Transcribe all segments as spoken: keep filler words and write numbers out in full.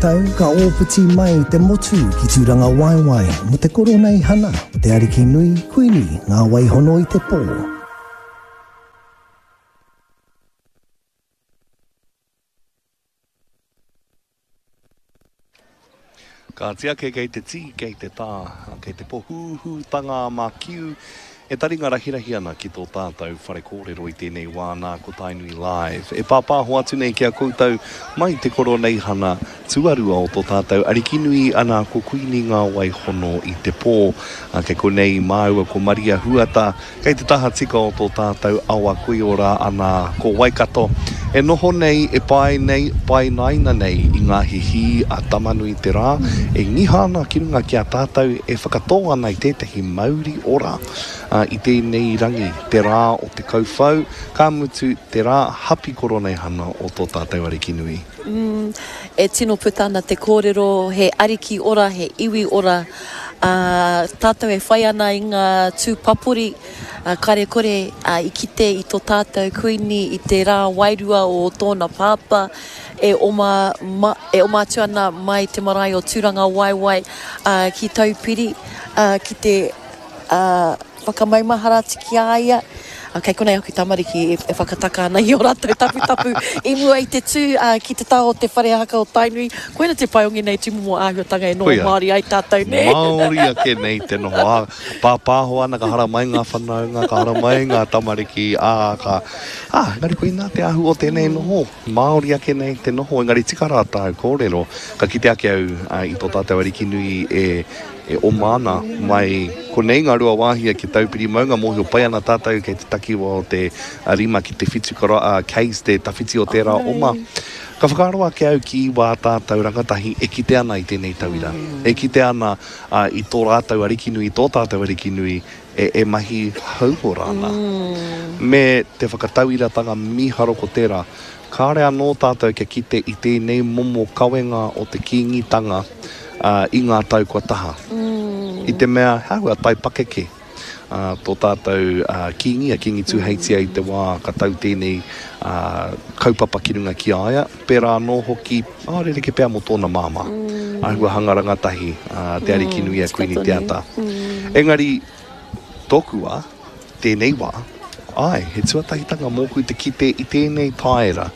tau ka ōpiti mai te motu ki Tūrangawaewae mō te koroneihana o te Ariki Nui Kuini Ngā Waihono i te Pō. Kāti ake kei te tī, kei te tā, kei te pohūhūtanga a Makiu e taringa rahirahi ana ki tō tātou whare kōrero i tēnei wā nā ko Tainui Live. E pāpāho atu nei ki a koutou mai te koroneihana tuarua o tō tātou Arikinui ana ko Kuini Ngā Waihono i te pō. Kei konei māua ko Maria Huata, kei te taha tika o tō tātou awa koiora ana ko Waikato. E noho nei, e pae nei, painaina nei i ngā hihī a Tamanui te Rā, e ngiha ana ki runga ki a tātou e whakatō ana i tētahi mauri ora i tēnei rangi, te rā o te kauwhau, ka mutu te rā hapi koroneihana o tō tātou Arikinui. Mm, e tino puta ana te kōrero, he ariki ora, he iwi ora, ā, tātou e whai ana i ngā tū papori, ā, kare kore, ā, i kite i tō tātou Kuini i te rā wairua o tōna pāpā e oma, ma, e oma atu ana mai te marae o Tūrangawaewae, ā, ki Taupiri, ā, ki te, ā, whakamaumahara atu ki a ia. Ā, kei konei aku tamariki e, e whakataka ana i ō rātou taputapu i mua i te tū, ā, ki te taha o te whare haka o Tainui. Koina te pai o ngēnei tūmomo āhuatanga e noho Koia. Māori ai tātou, nē? Māori ake nei te noho, ā, pāpāho ana ka haramai ngā whanaunga, ka haramai ngā tamariki, ā, ka, ā, engari koinā te āhua o tēnei noho, Māori ake nei te noho, engari tika rā tāu kōrero, ka kite ake au, ā, i tō tātou Arikinui e, E oma ana mai konei ngā rua wāhia ki Taupiri maunga, mōhio pai ana tātou kei te takiwa o te rima ki te whitu k's te tawhiti o tērā oma. Ka whakaaro ake au ki wā tātou rangatahi e kite ana i tēnei tauira, e kite ana i tō rātou arikinui, i tō tātou arikinui e mahi hauora ana. Me te whakatauiratanga mīharo ko tērā. Kāore anō tātou kia kite i tēnei momo kawenga o te Kīngitanga i ngā tau kua taha. I te mea, he āhua taipakeke tō tātou Kīngi, a Kīngi Tūheitia i te wā ka tau tēnei kaupapa ki runga ki a ia. Pērā anō hoki, ā, rerekē pea mō tōna māmā, āhua hanga rangatahi te Arikinui a Kuini Te Ata. Engari, tōku wā, tēnei wā, āe, he tuatahitanga mōku te kite i tēnei taera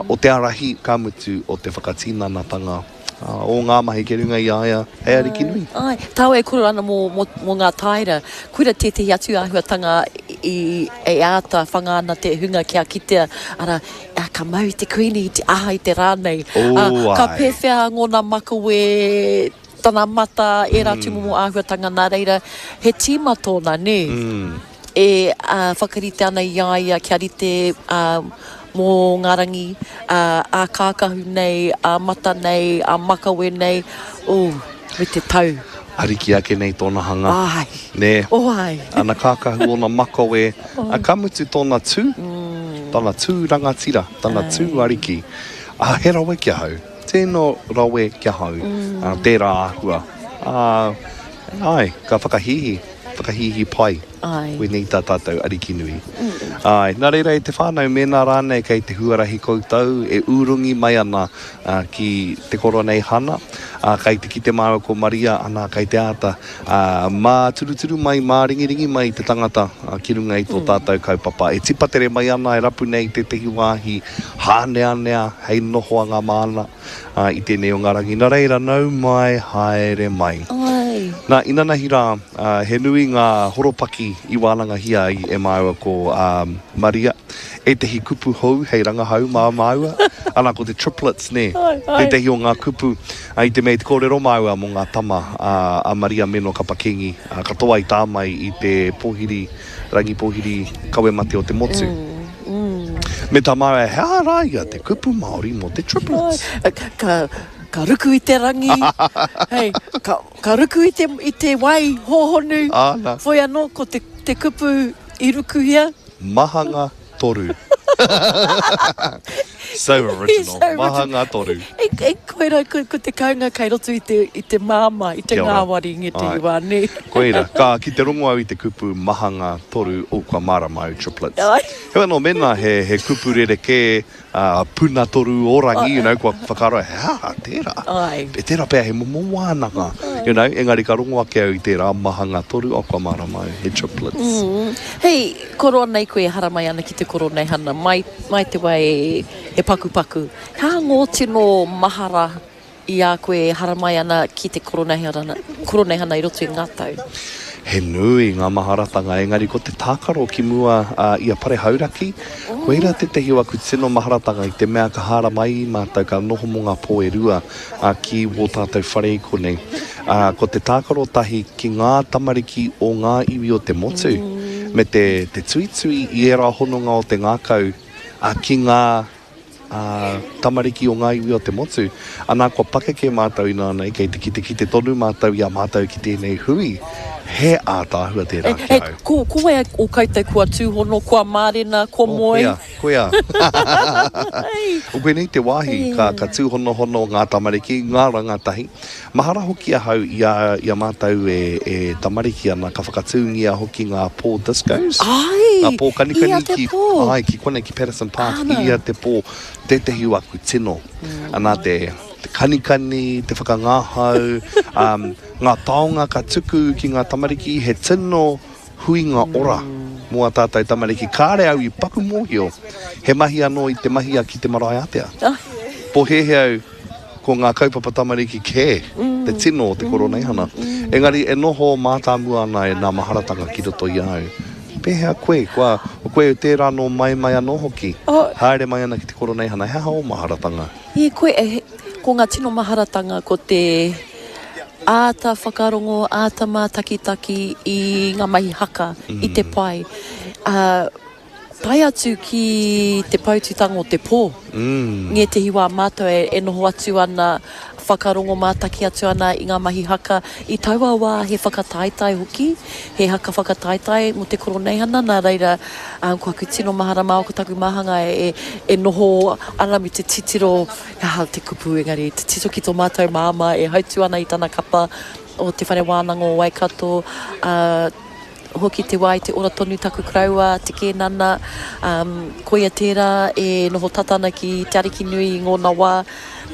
o te ārahi, ka mutu, o te whakatinanatanga o ngā mahi kei runga i a ia hei ariki nui. Āe, tāua e kōrero ana mō, mō, mō ngā taera, koira tētehi atu āhuatanga i, e āta whanga ana te hunga kia kitea, arā, ka mau i te Kuini i te aha i te rā nei. Ō, āe. Ka pēwhea ngōna makawe, tana mata, ērā tūmomo āhuatanga, nā reira, he tīma tōna, nē? E whakarite ana i a ia kia rite mō ngā rangi ā-kākahu nei, ā-mata nei, ā-makawe nei, oh, me te tau. Ariki ake nei tōna hanga. Āe. Nē. Oh, āe. Ana kākahu, ōna makawe, ā, ka mutu tōna tū, tana tū rangatira, tana tū ariki. Ā, he rawe ki ahau. Tino rawe ki ahau, tērā āhua. Ā, āe, ka whakahīhī, whakahīhī pai. Āe. Koinei tā tātou Ariki nui. Āe, nā reira e te whānau, mēnā rānei kei te huarahi koutou e urungi mai ana ki te Koroneihana, ā, kei te kite māua ko Maria, ana, kei te āta māturuturu mai, māringiringi mai te tangata ki runga i tō tātou kaupapa. E tipatere mai ana, e rapu nei tētehi wāhi hāneanea hei nohoanga māna. Ā, i tēnei o ngā rangi. Nā reira, nau mai, haere mai. Āe. Nā, inanahi rā, ā, he nui ngā horopaki i wānangahia ai e māua ko, ā, Maria, ētehi kupu hou hei rangahau mā māua. Ana, ko te triplets, nē? Āe, āe. Tētehi o ngā kupu, ā, i te mea i te kōrero māua mō ngā tama, ā, a Maria Meno Kapa Kingi, ā, katoa i tā mai i te pōhiri, rangi pōhiri kawe mate o te motu. Me tā māua, he aha rā ia te kupu Māori mō te triplets? Ka, ka ruku i te rangi, hei, ka, ka ruku i te, i te wai hōhonu, Āna. whoi anō ko te, te kupu i rukuhia. Mahanga toru. So original. So original. Mahanga toru. E, e Koira, ko, ko te kaunga kei roto i te, i te māmā, i te ngāwari ngētehi wā, nē. Koira, ka ki te rongo au i te kupu mahanga toru, o kua mārama au triplets. Ai. Heoi anō, mēnā he, he kupu rerekē, uh, puna toru o rangi, you know, kua whakaaro, he aha tērā? Ai. E tērā pea he momo wānanga, you know, engari ka rongo ake au i tērā mahanga toru, o kua mārama au, he triplets. Mm. Hei, koro nei koe e haramai ana ki te koroneihana, mai, mai te wā e, e pakupaku. He aha ngō tino mahara i a koe e haramai ana ki te koroneihana, koroneihana i roto i ngā tau? He nui ngā maharatanga, engari ko te tākaro ki mua uh, i a Pare Hauraki, oh. Koira tētehi o aku tino maharatanga i te mea ka haramai i mātou, ka noho mō ngā pō e rua uh, ki wō tātou whare i konei. Uh, ko te tākaro tahi ki ngā tamariki o ngā iwi o te motu, mm. me te, te tuitui i ērā hononga o te ngākau uh, ki ngā uh, tamariki o ngā iwi o te motu. Anā, kua pakeke mātou inānei, kei te kitekite tonu mātou i a mātou ki tēnei hui. He ātaahua tērā E, ki e, au. ko, ko wai o koutou kua tūhono, kua mārena, kua Oh, moe? koia, koia. Ai. O koinei te wāhi ka, ka tūhonohono ngā tamariki, ngā rangatahi. Mahara hoki ahau i a, i a mātou e, e tamariki ana, ka whakatūngia hoki ngā pō discos. Ai, Ngā pō kanikani ia te ki, pō. ai, ki konei ki Patterson Park, Ana. ia te pō, tētehi o aku tino. Mm. Ana te, te kanikani, te whakangahau, um, ngā taonga ka tuku ki ngā tamariki, he tino huinga ora mō a tātou tamariki. Kāre au i paku mōhio, he mahi anō i te mahia ki te marae ātea. Ai. Pōhēhē au ko ngā kaupapa tamariki kē, te tino o te koroneihana. Engari e noho mātāmua ana e nā maharatanga ki roto i a au. Pēhea koe, kua, koe tērā nō mai mai anō hoki. Oh. Haere mai ana ki te koroneihana, he aha o maharatanga? E koe, e, ko ngā tino maharatanga ko te āta whakarongo, āta mātakitaki i ngā mahi haka, mm. i te pai. Uh, tae atu ki te poututanga o te pō. Mm. Ngētehi wā mātou e, e noho atu ana, whakarongo mātaki atu ana i ngā mahi haka. I taua wā he whakataetae hoki, he haka whakataetae mō te koroneihana, nā reira um, ko aku tino mahara māo ko taku mahanga e, e noho ana me te titiro, aha te kupu engari, te tito ki tō mātou māmā e hautu ana i tana kapa o te whare wānanga o Waikato, uh, hoki te wā i te ora tonu taku karaua, te kēnana, um, koia tērā e noho tata ana ki Te Ariki Nui i ngōna wā.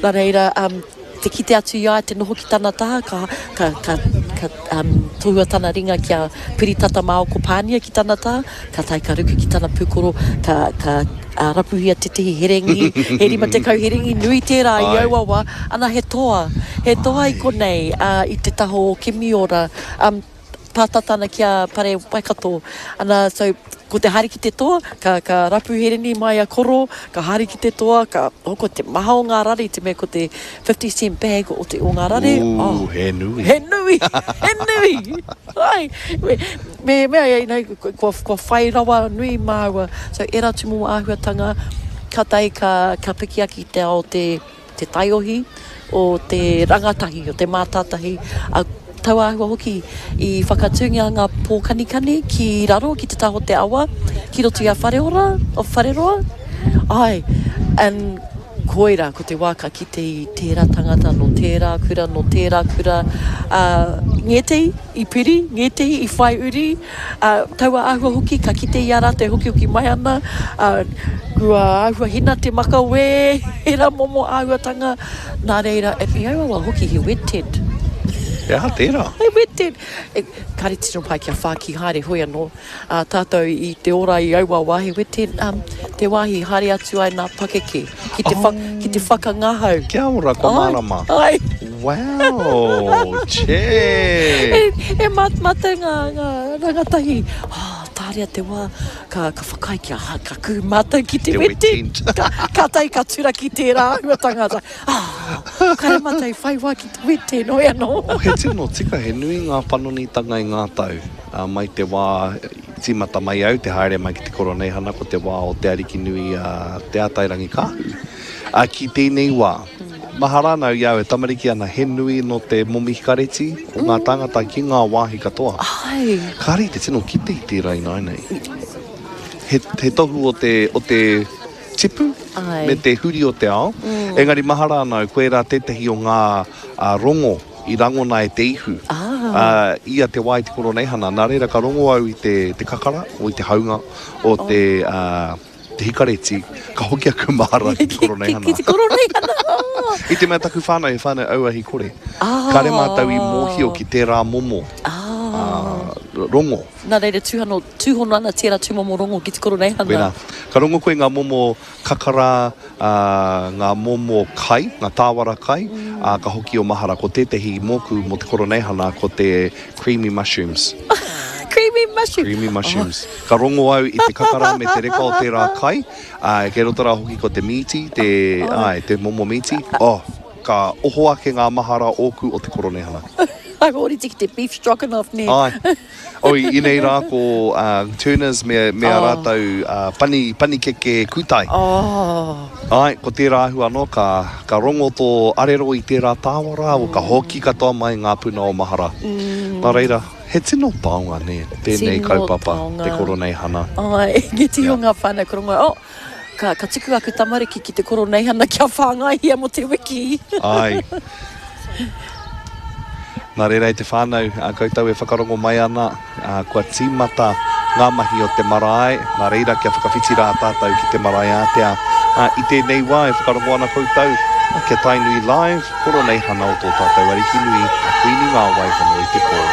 Nā reira, um, te kite atu i a ia, te noho ki tana taha, ka, ka, ka, ka um, tohua tana ringa kia piri tata māo ko Pānia ki tana taha, ka tae ka ruku ki tana pūkoro, ka, ka uh, rapuhia tētehi herengi, he rima tekau herengi nui tērā i Ai. aua wā. Ana he toa, he toa i konei uh, i te taha o Kimiora, um, pātata ana ki a Pare Waikato. Ana, so, ko te haere ki te toa, ka, ka rapu hereni mai a koro, ka haere ki te toa, ka hoko te maha o ngā rare, te mea ko te fifty cent bag o te o ngā rare. Ooh, Oh. he nui. He nui, he nui. Ai, me, me, me, you know, kua, kua whai rawa nui māua. So, era tūmomo āhuatanga, ka tae ka, ka piki ake i te ao te, te taiohi, o te rangatahi, o te mātātahi. A, tau āhua hoki i whakatūngia ngā pōkanikani ki raro, ki te taha o te awa, ki roto i a Whareora, o Whareroa. Ai, and koira, ko te wā ka kite i tērā tangata, no tērā kura, no tērā kura. Uh, ngētehi i piri, ngētehi i whai uri. Uh, taua āhua hoki, ka kite i a rātou hoki hoki mai ana. Uh, kua āhua hina te makawe, era momo āhuatanga. Nā reira, e, i aua wā hoki he wet tent. He aha tērā? He wet tent. E, kāre tino pai kia whāki haere hoi anō. Uh, tātou i te ora i aua wā, he wet tent, um, te wāhi haere atu ai nā pakeke, ki te, wha, ki te whakangahau. Kia ora, kua mārama. Ai. Wow, che. E, e mat, mātou ngā, ngā rangatahi. Oh, tāria te wā, ka, ka whakaae kia, ha, ka kū mātou ki te Te wet wet tent. tent. Ka, ka tae ka turaki tērā āhuatanga. Ah, kāre mātou i whai wā ki te wet tent, hoi anō. Oh, he tino tika, he nui ngā panonitanga i ngā tau. Uh, mai te wā, tīmata mai au, te haere mai ki te koroneihana, ko te wā o Te Ariki Nui a Te Ātairangi Kāhu. Uh, ki tēnei wā, mahara ana au i au e tamariki ana, he nui no te momi hikareti o ngā tāngata ki ngā wāhi katoa. Ai. Kāre i te tino kite i tērā ināianei. He, he tohu o te, o te tipu Ai. me te huri o te ao. Engari mahara ana au, koirā tētahi o ngā rongo i rangona e te ihu. Ah. Ia te wā i te Koroneihana. Nā reira ka rongo au i te, te kakara, o i te haunga, o te, oh. te hikareti, ka hoki aku mahara ki te Koroneihana. Ki, ki te Koroneihana! I te mea taku whānau, he whānau auahi kore. Ah. Kāre mātou i mōhio ki tērā momo. Ah. Rongo. Nā reira tūhano, tūhono ana tērā tūmomo rongo ki te Koroneihana. Koirā. Ka rongo koe ngā momo kakara, ā, ngā momo kai, ngā tāwara kai, ā, ka hoki o mahara. Ko tētehi mōku mō te Koroneihana ko te creamy mushrooms. Creamy mushrooms. Creamy mushrooms. Oh. Ka rongo au i te kakara me te reka o tērā kai, ā, kei roto rā hoki ko te mīti, te, āe, te momo mīti. Oh, ka oho ake ngā mahara ōku o te Koroneihana. Ai, ōrite ki te beef stroganoff, nē? Āe. Oh, i ēnei rā ko uh, Turners me, me a Oh. rātou uh, pani, panikeke kūtai. Oh. Āe, ko tērā āhua anō, ka, ka rongo tō arero i tērā tāwara, mm. ka hoki katoa mai ngā puna o mahara. Mm. Nā reira, he tino taonga, nē, tēnei Tino kaupapa, taonga. te Koroneihana. Āe, nge tiho Yeah. ngā whānau ka rongo, oh, ka, ka tuku aku tamariki ki te Koroneihana kia whāngaihia mō te wiki. Āe. Nā reira e te whānau, a koutou e whakarongo mai ana, a, kua tīmata ngā mahi o te marae, nā reira kia whakawhiti rā tātou ki te marae ātea. A, i tēnei wā e whakarongo ana koutou, a, kia Tainui Live, Koroneihana o tō tātou Ariki nui, a Kuini Ngā Waihono i te pō.